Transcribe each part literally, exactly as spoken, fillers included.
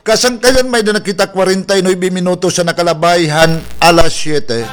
Kasangkayan, may-ada na kita kwarenta y nuebe minutos an nakalabay han alas siyete.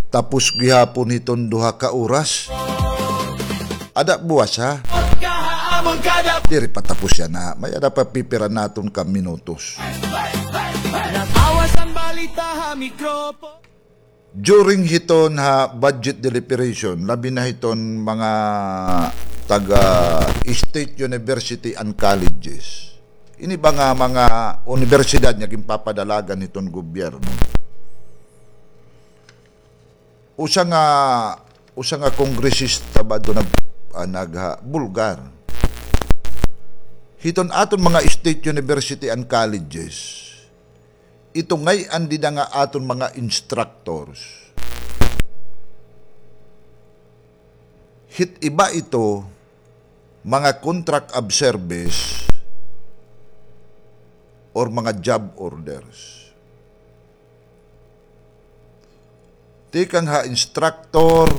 Tapos gihapon hiton duha ka oras. Ada buwas, ha? Diri pa tapos yana. May-ada pa pipira naton ka minutos. During hiton ha budget deliberation, labi na hiton mga taga state university and colleges. Ini ba nga mga unibersidad nga ginpapadalagan hiton gobyerno. Usa nga, usa nga kongresista ba do nag-, ah, nagha-, bulgar. Hiton aton mga state university and colleges, ito ngay-an dida nga aton mga instructors. Hit iba ito, mga contract of service or mga job orders. Tikang ha instructor,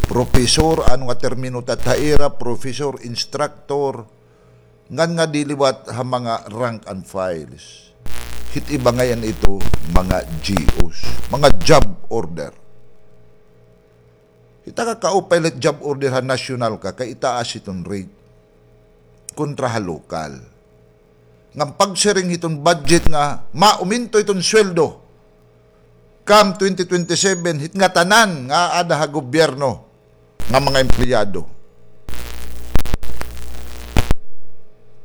professor, ano nga termino ta ha ira, professor, instructor, ngan nga di liwat ha mga rank and files. Hit iba ngay-an ito, mga G Os, mga job order. Hit aka kaupay la hit job order ha national ka, kay itaas hiton rate kontra ha lokal. Ngan pagsiring hiton budget nga mauminto hiton sweldo come twenty twenty-seven, hit ngatanan nga aada ha gobyerno nga mga empleyado.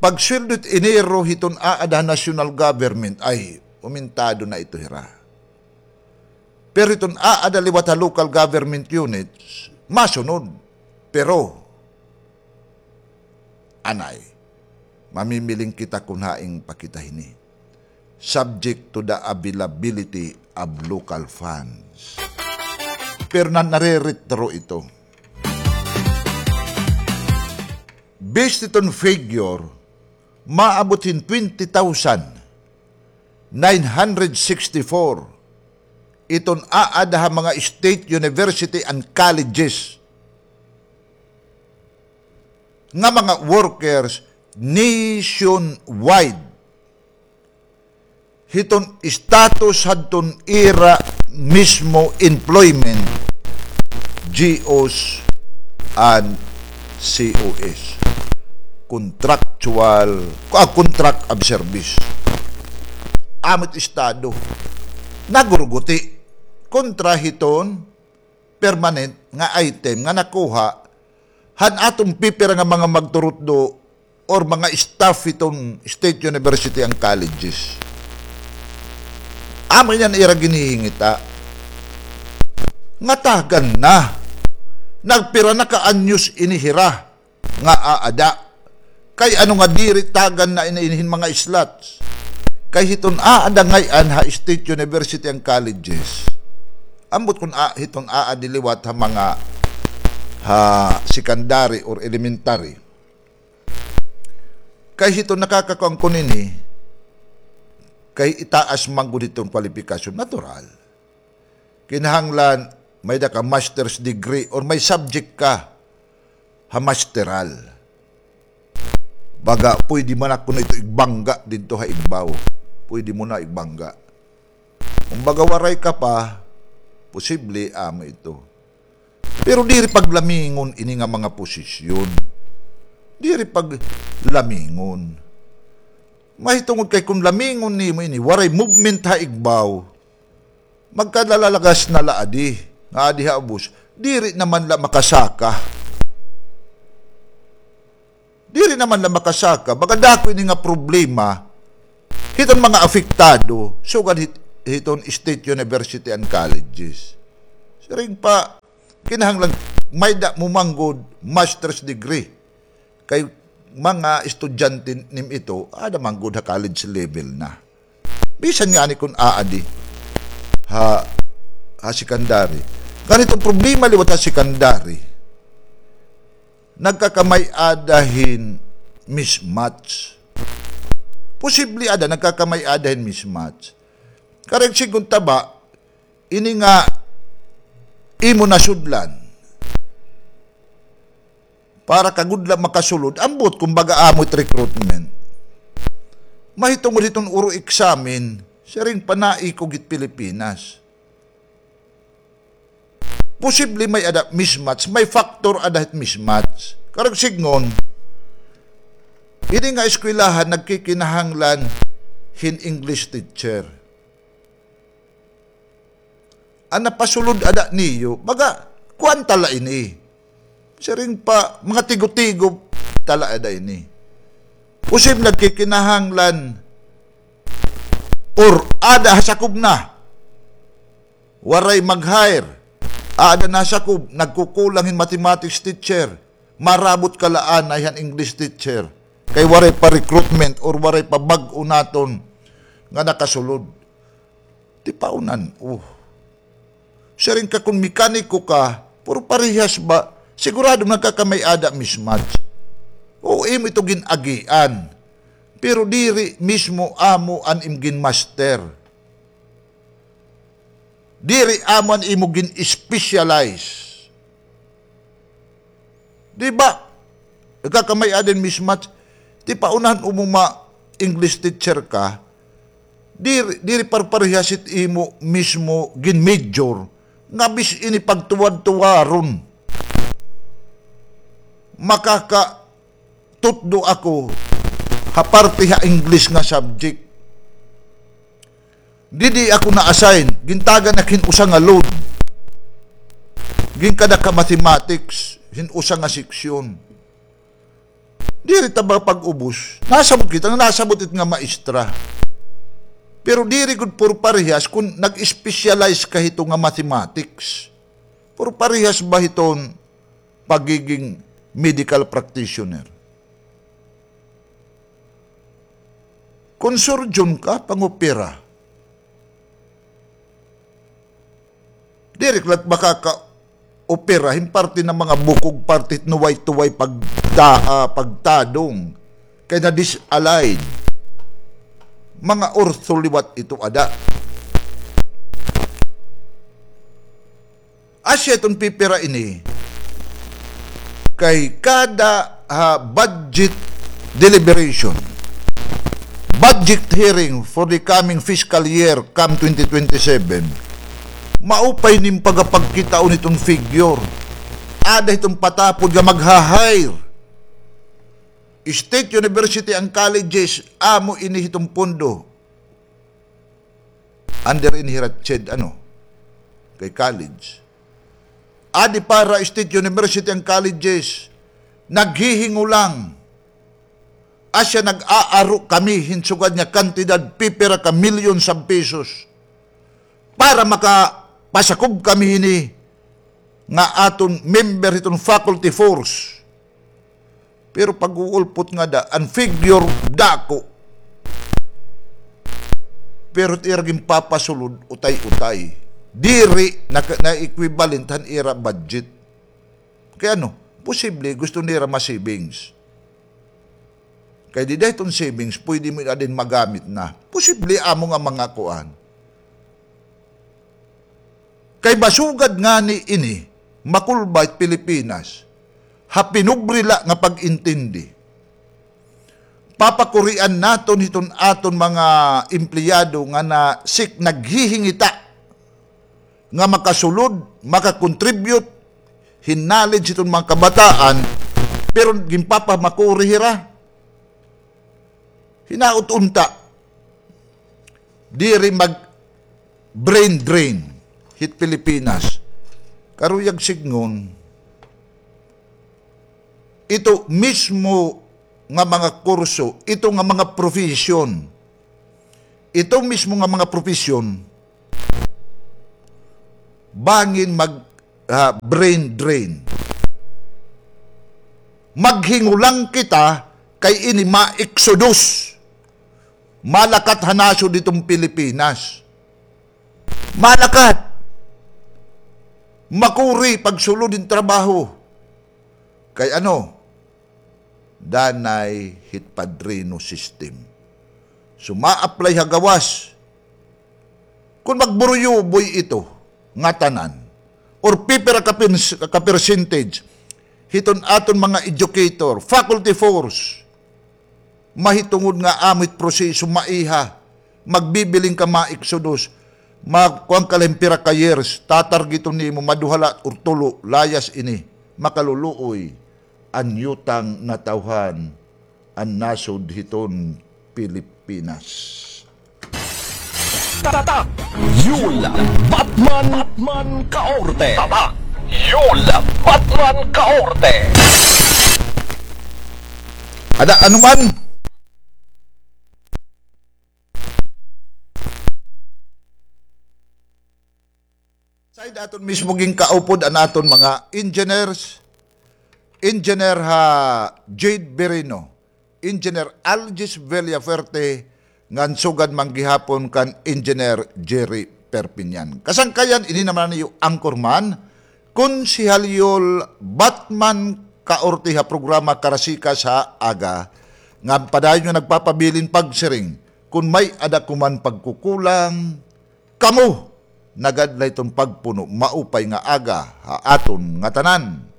Pagsweldo hit Enero hiton aada ha national government, ay, umintado na ito hira. Pero hiton aada liwat ha local government units, masunod. Pero, anay, mamimiling kita kon hain pa kita hini. Subject to the availability of local funds. Pero na, nare-retro ito. Based iton figure, maabot hin twenty thousand nine hundred sixty-four iton aada ha mga state university and colleges nga mga workers nationwide. Hiton status hadton ira mismo employment, G Os and C O S. Contractual, ah, contract of service. Amo it estado. Naguruguti kontra hiton permanent nga item nga nakuha han aton pipira nga mga magturutdo or mga staff hiton State University and colleges. Amo ini an ira ginhihingita. Ngatagan na. Nagpira na ka anyos ini hira nga aada. Kay ano nga diri tagan na ini hin mga slots? Kay hiton aada ngay-an ha State University and colleges. Ambot kon a-, hiton aadi liwat ha mga ha secondary or elementary. Kay hiton nakakakuan kon ini, kay itaas man gud hiton kwalipikasyon, natural. Kinahanglan may-ada ka master's degree or may subject ka ha masteral. Baga, pwede man ako na ito igbangga didto ha igbaw. Pwede mo na igbangga. Kung baga waray ka pa, posible, amo ito. Pero diri paglamingon ini nga mga posisyon. Diri paglamingon. Mahitungod kay kung lamingon nimo ini, waray movement ha igbaw, magkalalagas na la adi, nga adi ha ubos, diri naman la makasaka. Diri naman la makasaka, baga dako ini nga problema hiton mga apektado, sugad hit-, hiton state university and colleges. Siring pa, kinahanglan may-ada mo man gud master's degree. Kay mga estudyante nim ito, aada man gud ha college level na. Bisan ngani kon aadi ha, ha secondary. Ngan iton problema liwat ha secondary, nagkakamay-ada hin mismatch. Posible ada, nagkakamay-ada hin mismatch. Karuyag sidngon ta ba, ini nga imo nasudlan, para ka gud la makasulod, ambot, kumbaga, amo it recruitment. Mahitungod hiton oral exam, siring pa naikog hit Pilipinas. Posible may-ada mismatch, may factor ada hit mismatch. Karuyag sidngon, ini nga eskwelahan nagkikinahanglan hin English teacher. An napasulod ada niyo, baga, kuan ta la ini. Siring pa, mga tigo-tigo ta la ada ini. Posible nagkikinahanglan, or ada ha sakob na. Waray mag-hire. Ada na sakob, nagkukulang hin mathematics teacher. Marabot ka la anay han English teacher. Kay waray pa recruitment or waray pa bag-o naton nga nakasulod. Tipaunan, oh. Siring ka kon mekaniko ka, pero parehas ba? Sigurado nagkakamay-ada mismatch. Oo, imo ito gin-agian. Pero diri mismo amo an im gin-master. Diri amo an imo gin-specialize. Di ba? Nagkakamay-ada hin mismatch. Tipaunan, umuma English teacher ka, diri, diri parparehas it imo mismo gin-major. Nga bis ini pagtuwad-tuwaron. Makaka- tutdo ako ha parte ha English nga subject. Didi ako na-assign, gintagan ak hin usa nga load. Ginkadakha mathematics, hin usa nga seksyon. Diri ta ba pag-ubos? Nasabot kita nga nasabot it nga maestra. Pero diri gud puro parehas kun nag-specialize ka hito nga mathematics. Puro parehas ba hiton pagiging medical practitioner. Kon surgeon ka, pangopera. Diri ka la makaka-opera hin parte nga mga bukog, parte nuway-tuway pagta-, ah, pagtadong. Kay na-disalign. Mga ortho liwat ito ada. Asya iton pipira ini kay kada, ah, budget deliberation, budget hearing for the coming fiscal year, come twenty twenty-seven, maupay nim pagapagkitaon iton figure. Ada iton patapod nga magha-hire. State university and colleges, amo ini hiton pondo. Under ini hira CHED, ano, kay college. Adi para state university and colleges, naghihingulang. Asya nag-aaro kami hin sugad nga kantidad, pipira ka millions of pesos, para makapasakob kami hini nga aton member hiton faculty force. Pero pag-uulpot ngada, an figure dako. Pero it ira ginpapasulod, utay-utay. Diri na, na equivalent han ira budget. Kay ano, posible gusto nira ma-savings. Kay dida hiton savings, pwede mo na din magamit na. Posible amo nga mga kuan. Kay masugad ngani ini, makulba it Pilipinas, ha pinobre la nga pag-intindi. Papakurian naton hiton aton mga empleyado nga na sik naghihingita nga makasulod, maka-contribute hin knowledge hiton mga kabataan, pero ginpapamakuri hira. Hinaot unta, diri mag-brain drain hit Pilipinas. Karuyag sidngon, ito mismo nga mga kurso, ito nga mga profesyon, ito mismo nga mga profesyon, bangin mag, ah, brain drain. Maghingulang kita kay ini ma-exodus. Malakat ha nasod hiton Pilipinas. Malakat. Makuri pagsulod hin trabaho. Kay ano? Danay hit padrino system. So, ma-apply ha gawas. Kon magburuyuboy ito, ngatanan, or pipira ka pins-, ka percentage, hiton aton mga educator, faculty force, Mahitungod nga amo it proseso, maiha, magbibiling ka, ma-exodus, magkuan ka la hin pira ka years, tatargeton nimo, maduha la or tulo, layas ini, makaluluoy an yutang natawhan an nasod hiton Pilipinas. Tatak Yul Batman, Batman Kaorte. Tatak Yul Batman Kaorte. Ada, ano man? Side aton mismo ginkaupod an aton mga engineers, Engineer ha Jade Birino, Engineer Algis Villafuerte, ngan sugad man gihapon kan Engineer Jerry Perpignan. Kasangkayan, ini naman an iyo anchorman, Konsehal Yul Batman Kaorte ha programa Karasikas ha Aga, nga padayon nga nagpapabilin pagsiring, kon may-ada ko man pagkukulang, kamo na gad la iton pagpuno, maupay nga aga ha aton ngatanan.